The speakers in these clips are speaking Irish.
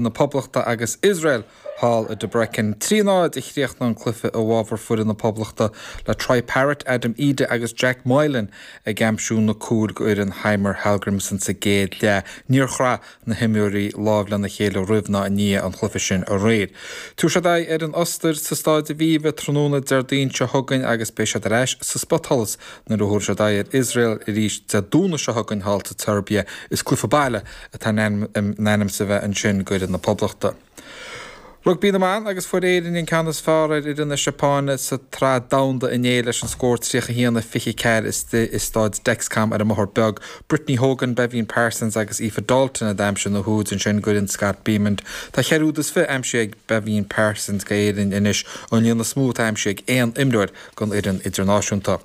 Na Poblachta agus Iosrael thall i Debrecen. 3, 0 a chríochnaigh an cluiche i bhfabhar foireann na Poblachta le Troy Parrott, Adam Idah agus Jack Moylan ag aimsiú na cúil go fhoireann Heimir Hallgrímsson sa gcéad leath. Níor chraith na himreoirí lámh lena chéile roimh ná i ndiaidh an chluiche sin aréir. Tabharfaidh siad aghaidh ar an Ostair sa Stáid Aviva tráthnóna Déardaoin seo chugainn agus beidh siad ar ais sa spotsholas nuair a thabharfaidh siad aghaidh ar Iosrael arís Dé Domhnaigh seo chugainn thall sa tSeirbia. Is cluiche baile atá in ainm is a bheith ansin d'fhoireann na Poblachta. Rugbaí na mBan agus fuair Éirinn an ceann is fearr ar fhoireann na Seapáine sa tSraith Domhanda inné leis an scór 31-24 i Stáid Dexcom ar an mBóthar Beag. Brittany Hogan, Beibhinn Parsons agus Aoife Dalton a d'aimsigh na húid ansin d'fhoireann Scott Bemand. Tá cheithre úd is fiche aimsithe ag Beibhinn Parsons d'Éirinn anois, an líon is mó atá aimsithe ag aon imreoir don fhoireann idirnáisiúnta.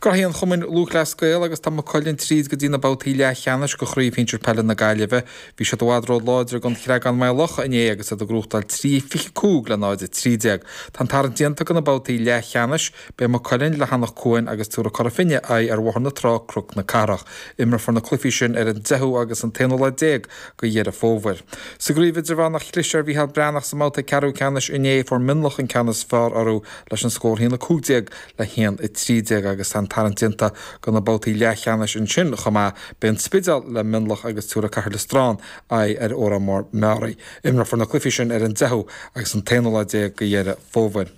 Graithí an Chumainn Lúthchleas Gael agus tá Maigh Cuilinn tríd go dtí na babhtaí leathcheannais de Chraobh Shinsir Peile na Gaillimhe. Bhí siad i bhfad róláidir don Chreagán Maigh Locha inné agus iad ag gnóthachtáil 3, 25 le 0, 13. Tá an tarraingt déanta do na babhtaí leathcheannais. Beidh Maigh Cuilinn le hAnach Cuain agus tabharfaidh Cora Finne aghaidh ar Bhóthar na Trá, Cnoc na Cathrach. Imreofar na cluichí sin ar an deichiú agus an t-aonú lá déag de Dheireadh Fómhair. Sa gcraobh idirmheánach chlis ar Mhícheál Breathnach sa mbabhta ceathrú ceannais inné. Fuair Mionlach an ceann is fearr orthu leis an scór 1-15 le 1-13 agus tá an tarraingt déanta do na babhtaí leathcheannais ansin chomh maith. Beidh an Spidéal le Mionlach agus tabharfaidh Cathair Loistreáin aghaidh ar Órán Mór Meáraí. Imreofar na cluichí sin ar an deichiú agus an t-aonú lá déag de Dheireadh Fómhair.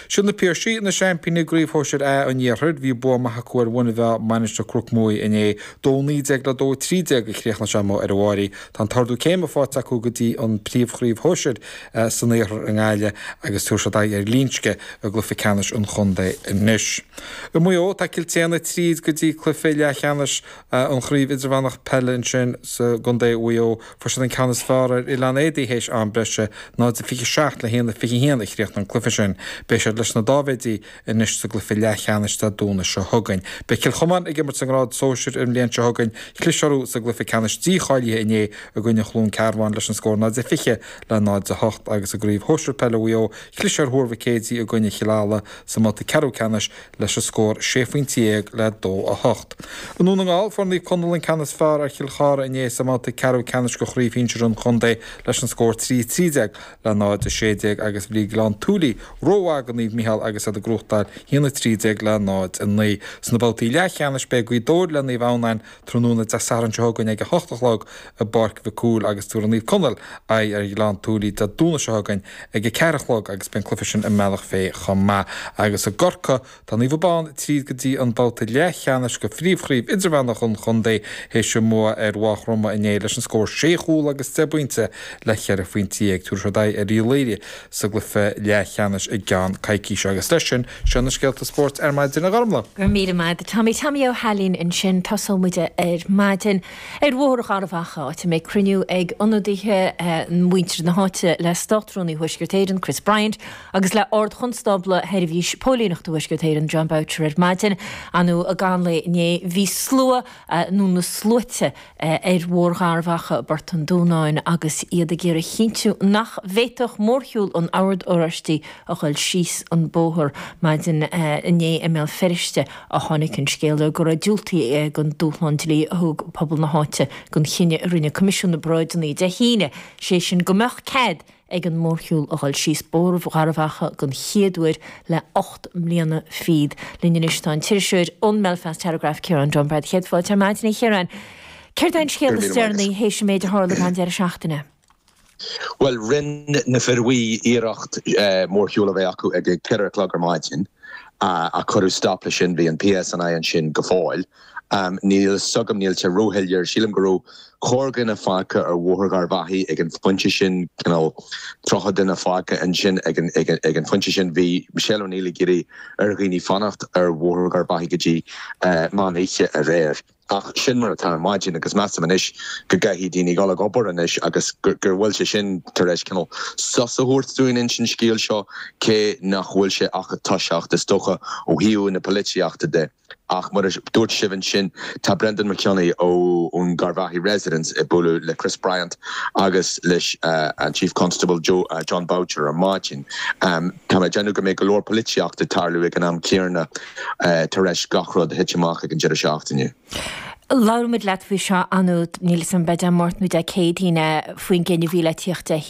Siad na Piarsaigh na seaimpíní i gCraobh Shóisir A an Iarthair. Bhí bua maith acu ar Mhuine Mheá, Mainistir Chnoc Muaidhe inné. 2-19 le 2-13 a chríochnaigh sé amuigh ar an bhFáirí. Tá an t-ardú céime faighte acu go dtí an príomhchraobh shóisir san iarthar i nGaillimh agus tabharfaidh siad aghaidh ar Ghlinsce i gcluiche ceannais an chontae anois. I Maigh Eo, tá Cill tSéadhna tríd go dtí cluiche leathcheannais an Chraobh Idirmheánach Peile ansin sa gcontae Mhaigh Eo. Fuair siad an ceann is fearr ar Oileán Éadaí théis am breise, 0-27 le 1-21 a chríochnaigh an cluiche sin. Beidh siad leis na Dáibhéidí anois sa gcluiche leathcheannais Dé Domhnaigh seo chugainn. Beidh Cill Chomáin ag imirt sa ngrád sóisir an bhliain seo chugainn. Chlis orthu sa gcluiche ceannais dícháilithe inné i gcoinne Chluain Cearbán leis an scór 0-20 le 0-8 agus i gCraobh Shóisir Peile Mhaigh Eo, chlis ar Thuar Mhic Éadaigh i gcoinne Chill Ala sa mbabhta ceathrú ceannais leis an scór 16 phointe le 2-8. I nDún na nGall, fuair Naomh Conaill an ceann is fearr ar Chill Chartha inné sa mbabhta ceathrú ceannais de Chraobh Shinsir an chontae leis an scór 3-13 le 0-16 agus bhí Gleann tSúilí rómhaith do Naomh Micheál agus iad ag gnóthachtáil 1-13 le 0-9. Sna babhtaí leathcheannais beidh Gaoth Dobhair le Naomh Adhamhnáin tráthnóna Dé Sathairn seo chugainn ag a hocht a chlog i bPáirc Mhic Cumhaill agus tabharfaidh Naomh Conaill aghaidh ar Ghleann tSúilí Dé Domhnaigh seo chugainn ag a ceathair a chlog agus beidh an cluiche sin i mBealach Féich chomh maith. Agus i gCorcaigh, tá Naomh Abán tríd go dtí an babhta leathcheannais de phríomhchraobh idirmheánach an chontae théis a mbua ar Mhaigh Chromtha inné leis an scór sé chúl agus deich bpointe le cheithre phointe dhéag. Tabharfaidh siad aghaidh ar Uíbh Laoire sa gcluiche leathcheannais i gceann coicíse. Agus leis sin, seo na scéalta spóirt ar maidin, a Ghormlaith. Go raibh míle maith agat, Tommy. Tommy Ó hAilín ansin. Tosóidh muid ar maidin ar Bhóthar Gharbh Achaidh, áit a mbeidh cruinniú ag ionadaithe mhuintir na háite le Státrúnaí Thuaisceart Éireann, Chris Bryant, agus le Ard-Chonstábla Sheirbhís Póilíneachta Thuaisceart Éireann, Jon Boutcher ar maidin. Ar ndóigh i gcaitheamh an lae inné bhí slua, nó na sluaite, ar Bhóthar Gharbh Achaidh i bPort an Dúnáin agus iad ag iarraidh a chinntiú nach bhféadfadh mórshiúl an Oird Oráistigh a dhul síos an bóthar. Maidin inné i mBéal Feirste a tháinig an scéala go raibh diúltaithe don dúshlán dlí a thug pobal na háite don chinneadh a rinne Coimisiún na bParáideanna Dé hAoine, sé sin go mbeadh cead ag an mórshiúl a dhul síos Bóthar Gharbh Achaidh den chéad uair le 8 mbliana fichead. Linn anois tá an t-iriseoir ón mBelfast Telegraph, Ciarán Dunbar. Céad fáilte ar maidin, a Chiaráin. Céard é an scéal is deireanaí théis an méid a tharla an deireadh seachtaine? Bhuel, rinne na Fir Bhuí iarracht mórshiúl a bheith acu ag a ceithre a chlog ar maidin ach cuireadh stop leis sin. Bhí an PSNI ansin go fóill. Níl a fhios agam, níl sé róshoiléir. Sílim go raibh corrdhuine fágtha ar Bhóthar Gharbh Achaidh ag an phointe sin, cineál 30 duine fágtha ansin ag an phointe sin. Bhí Michelle O'Neill ag iarraidh ar dhaoine fanacht ar Bhóthar Gharbh Achaidh go dtí meán oíche aréir. Ach sin mar atá ar maidin agus measaim anois go gcaithfidh daoine dul ag obair anois agus go bhfuil sé sin tar éis cineál sos a thabhairt dúinn ins an scéal seo, cé nach bhfuil sé ach ag toiseacht, is dócha, ó thaobh na polaitíochta de. Ach mar a dúirt sibh ansin, tá Brendan McKinney ón Garvaghy Residents ag bualadh le Chris Bryant agus leis an Chief Constable Jon Boutcher ar maidin. Tá mé ag déanamh go mbeidh go leor polaitíochta ag tarlú ag an am céanna tar eis gach rud a thit amach ag an deireadh seachtaine. Labhair muid leat faoi seo anúd, níl 'fhios a'm, b'é Dé Máirt nó Dé Céadaoin é, faoin gcinneadh a bhí le tíocht Dé hAoine.